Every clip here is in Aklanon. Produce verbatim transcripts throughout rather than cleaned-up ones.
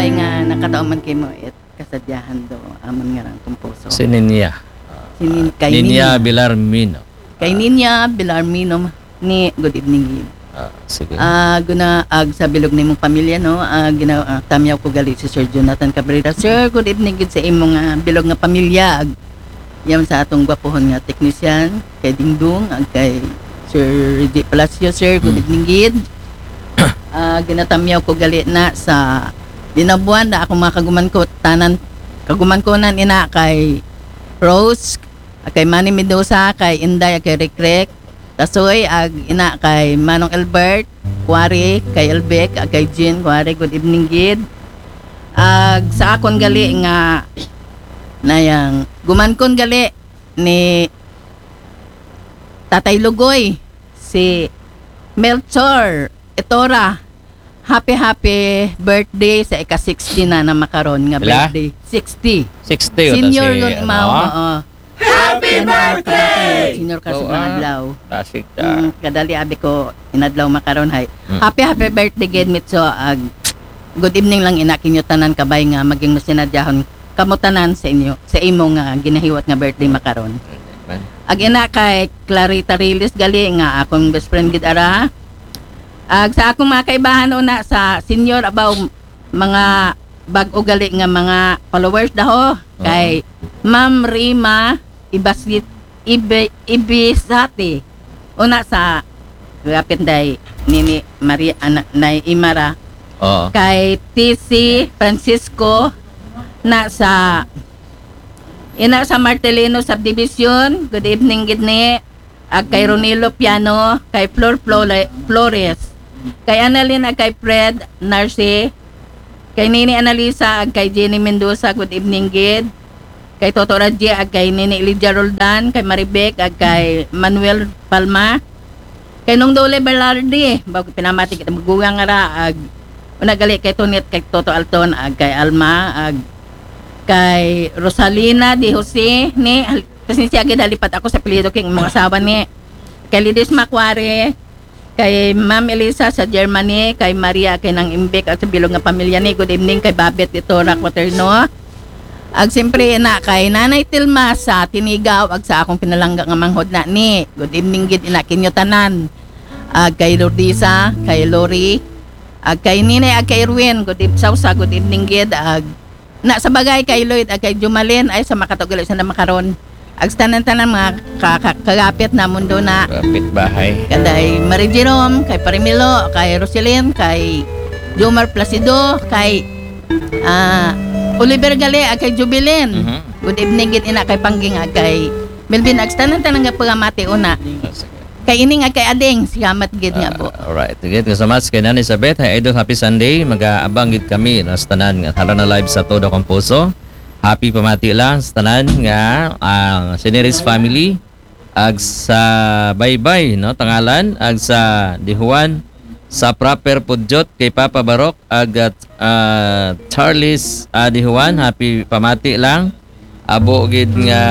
Ay nga, nakatao man kay mo it kasadyahan do, aman nga rang kumpuso. Si Ninya. Si Nin-, kay Ninya Ninya. Bilarmino. Kay Ninya Bilarmino ni, good evening gid. Ah, sige. Ah, guna ag sa bilog nimong pamilya, no? Ah, gina, ah, tamyaw ko gali si Sir Jonathan Cabrera. Sir, good evening gid sa imong, ah, bilog nga pamilya. Ag, yan sa atong gwapohon nga technician, kay Dingdong, ag kay Sir Reggie Palacio, sir, good Mm. evening gid. Ah, ginatamyaw ko gali na sa dinabuan da akong mga kaguman ko, tanan, kaguman ko nan ina kay Rose, kay Manny Mendoza, kay Inday, kay Rikrek, Tasoy, ag ina kay Manong Albert, Kuwari, kay Elbec, ag kay Jean, Kuwari, good evening gid. Ag sa akon gali nga nayang gumankon gali ni Tatay Lugoy, si Melchor Etora. Happy, happy birthday sa ika sixty na na makaron nga Pila? Birthday. Sixty. Sixty o Senior si, yun, ano? Mao, oo. Happy birthday! Senior ka sa Oo, mga ah. adlaw. Tasik ka. Mm, kadali abi ko inadlaw makaron hay. Mm. Happy, happy birthday gid, Mitso. Ag, good evening lang ina kinyo tanan, kabay nga maging masinadyahon kamo tanan sa inyo, sa imo nga ginahiwat nga birthday makaron. Man. Ag ina kay Clarita Riles gali nga akong best friend gid ara. Ag sa akong mga kaibahan una sa senior, abaw, mga bag-o gali nga mga followers daho, kay Ma'am Rima Ibasit, Ibe, Ibisati. Una sa kapit day nini Maria, ana, Nay Imara. Oo. Kay T C Francisco na sa, ina sa Martelino Subdivision. Good evening gid ni. Ag kay Ronilo Piano, kay Flor Flore-, Flores, kay Annalyn, ag kay Fred Narce, kay Nini Analisa, ag kay Jenny Mendoza, good evening gid. Kay Toto Radji, ag kay Nini Lydia Roldan, kay Maribec, ag kay Manuel Palma, kay Nong Dole Berlardi, bago pinamati kita magugang nga ra, ag una gali kay Tonet, kay Toto Alton, ag kay Alma, ag kay Rosalina de Jose, ni, pasensya gid, halipat ako sa apelyido kay mga asawa ni, kay Lidis Makware, kay Ma'am Elisa sa Germany, kay Maria, kay Nang Imbik, at sa bilog nga pamilya ni. Good evening kay Babet Itora Quaterno. Ag siyempre na kay Nanay Tilma sa Tinigaw, ag sa akong pinalangga nga manghod na ni. Good evening gid ina kinyo tanan. Ag kay Lordisa, kay Lori, ag kay Nine, ag kay Erwin. Good evening, Sausa, good evening gid. Ag na sa bagay kay Lloyd, ag kay Jumalin, ay sa makatugali sa namakaron. Ag sa tanan-tanan mga ka-, ka-, kagapit na mundo na. Kapit bahay. Kay Mari Jerome, kay Parimilo, kay Roselyn, kay Jomar Placido, kay ah, Oliver gali, ag kay Jubilin. Mhm. Good evening gid ina kay Pangging, ag kay Melvin, ag sa tanan-tanan nga pagamati una. Ah, sige. Kay ining ag kay Ading, sigamat gid nga po. Ah, alright. Sige, thank you so much kay Nanay Sabet. Hi, Idol. Happy Sunday. Mag-aabang gid kami na sa tanan nga hala na live sa Todo Kong Puso. Happy pamati lang sa tanan nga ang Sineris family. Ag sa Baybay, no, Tangalan, ag sa Dihuan, sa Proper Pudyot, kay Papa Barok, ag at, ah, Charles, ah, Dihuan, happy pamati lang. Abo gid nga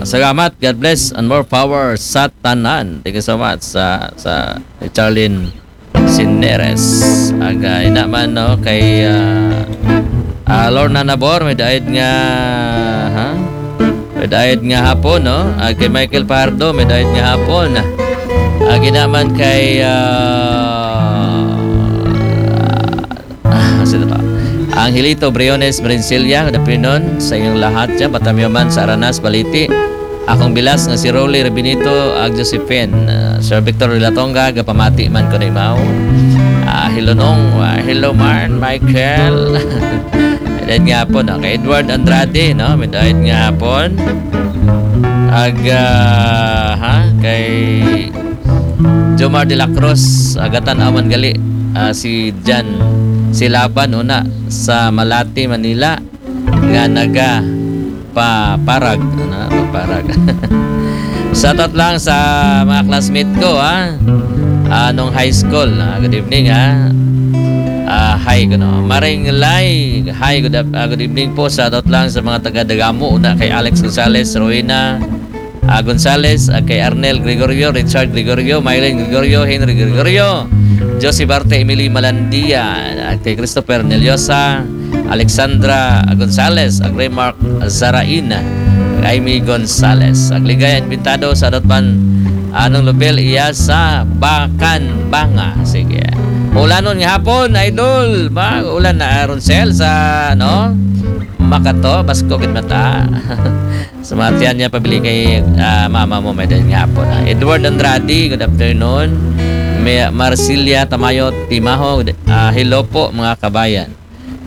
salamat, God bless and more power sa tanan. Thank you so much sa, sa Charlene Sineres. Ag, ah, ina man, no, kay, ah, ah, Lorna Nabor, may daid nga, ha? May daid nga hapon, no? Ag kay Michael Pardo, may daid nga hapon. Ag ina man kay, ah, ah, sino to? Angelito Briones Brincilla, good afternoon sa inyong lahat dyan. Batamyo man sa Aranas, Baliti. Akong bilas nga si Rolly Rabinito, ag Josephine, ah, Sir Victor Villatonga, gapamati man ko na imaw. Ah, hello nong, ah, hello man, Michael. Daid nga hapon, no? Kay Edward Andrade, no? May daid nga hapon. Ag, ah, ha? Kay Jomar de la Cruz, agatan aman gali, ah, si Jan, si Laban, una, sa Malate, Manila. Nga naga paparag, ano, paparag. Shoutout lang sa mga classmate ko, ha? Ah, nung high school, ha? Good evening, ha? Ah, hi, kuno. Maring Lai, hi, good, af- ah, good evening po. Shoutout lang sa mga taga Dagamo, una kay Alex Gonzalez, Rowena, ah, Gonzalez, ah, kay Arnel Gregorio, Richard Gregorio, Mylene Gregorio, Henry Gregorio, Josie Barte, Emily Malandia, at kay Christopher Neliosa, Alexandra Gonzalez, ag Remark Zarain, Amy Gonzalez. Ag ligaya invitado sa Dotman, anong lubil iya sa Bakan Banga. Sige. Ulanon nga hapon, idol. Ba, ulan na, Ronsel, sa, no? Makato, Basko, gid mata. Sa mga tiyan niya, pabili kay, ah, mama mo, may dahil nga hapon, ah. Edward Andrade, good afternoon. May, Marsilia Tamayo Timaho, ah, hello po, mga kabayan.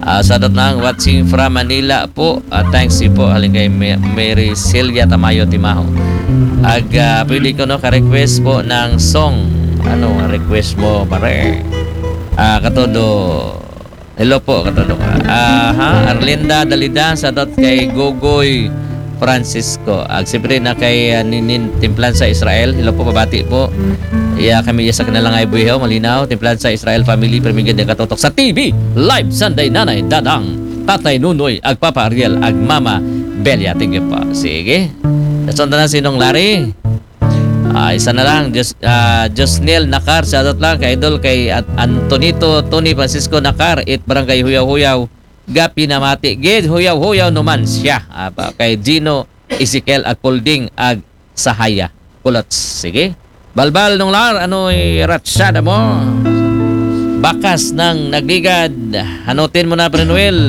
Ah, sa dot lang, watching from Manila po. Ah, thanks po, halin kay Ma-, Mary Celia Tamayo Timaho. Ag, ah, pwede ko, no, ka-request po ng song. Ano ang request mo, pare? Ah, katodo. Hello po, katodo ka. Aha, Arlinda Dalida, sa dot kay Gogoy Francisco. Ag siyempre na kay, ah, Ninin Timplan sa Israel. Hello po, pabati po. Iya kami iya sa kanila nga ibuhihaw, malinaw. Timplan sa Israel family, permigid ng katotok sa T V. Live Sunday, Nanay Dadang, Tatay Nunoy, ag Papa Ariel, ag Mama Belia. Thank you po. Sige. Nasundan na sinong Larry. Ah, isa na lang, Jos, ah, Josnel Nakar, shoutout lang kay Idol, kay At-, Antonito Tony Francisco Nakar, it Barangay Huyaw-Huyaw, Gapi na mati, gid, huyaw-huyaw naman siya. Ah, pa, kay Gino Ezekiel Agpulding ag Sahaya. Kulots, sige. Balbal nung lar, ano iratsada mo? Bakas ng nagligad. Hanutin mo na, Pre Noel.